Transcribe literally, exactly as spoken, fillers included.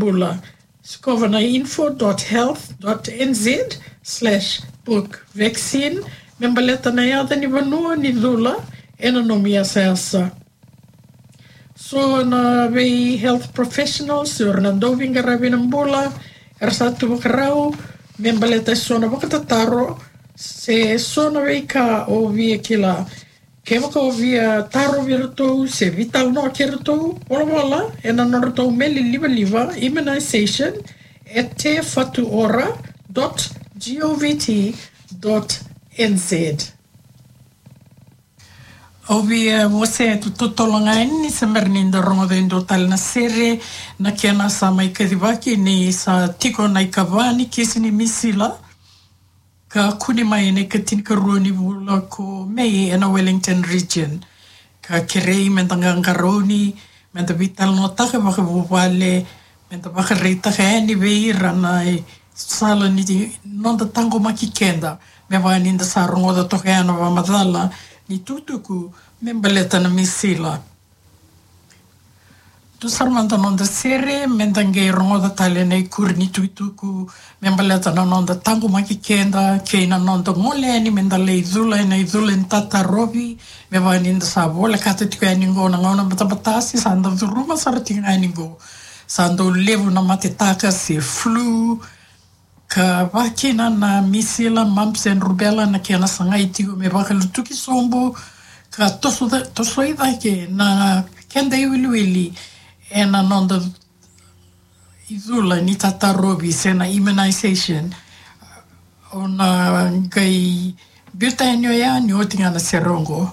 bula. Sikova na info dot health dot N Z slash book vaccine me baleta na yaca ni vanua ni cula ena nomu yasayasa. So na vei health professionals, o ira na dauveiqaravi ena bula, era sa tu vakarau me baleta e so na vakatataro se so na veika o via kila. Kevaka o via tarovi iratou se veitalanoa kei iratou, volavola ena nodratou meli livaliva, immunization at te fatu ora dot govt dot N Z. Au via wasea tu totolo ga yani ni se bera ni da rogoca e dua tale na sere, na kena sa mai kacivaki ni sa tiko na ikava ni kisi ni misila ka kune mai ena ikatinikarua ni vula ko Me ena Wellington region. Ka kerei me da qaqarauni, me da veitalanoataka vakavuvale, me da vakaraitaka yani vei ira na sala ni noda taqomaki keda, me vaka ni da sa rogoca toka yani na vakamacala ni tukutuku me baleta na misila. Tu sara mada noda sere, me da qai rogoca tale na ikuri ni tukutuku me baleta na noda taqomaki keda kei na noda gole yani me da lai cula ena icula ni tatarovi, me vaka ni da sa volekata tiko yani qo na gauna batabata se sa da curuma sara tiko ga yani qo. Sa dau levu na matetaka se flu, ka vakakina na misila, mumps and rubella, na kena sagai tiko me vakalutuki sobu ka toso, tosoi cake na keda iwiliwili ena noda icula ni tatarovi se na immunization. O na qai biuta yani oya ni oti ga na sere oqo.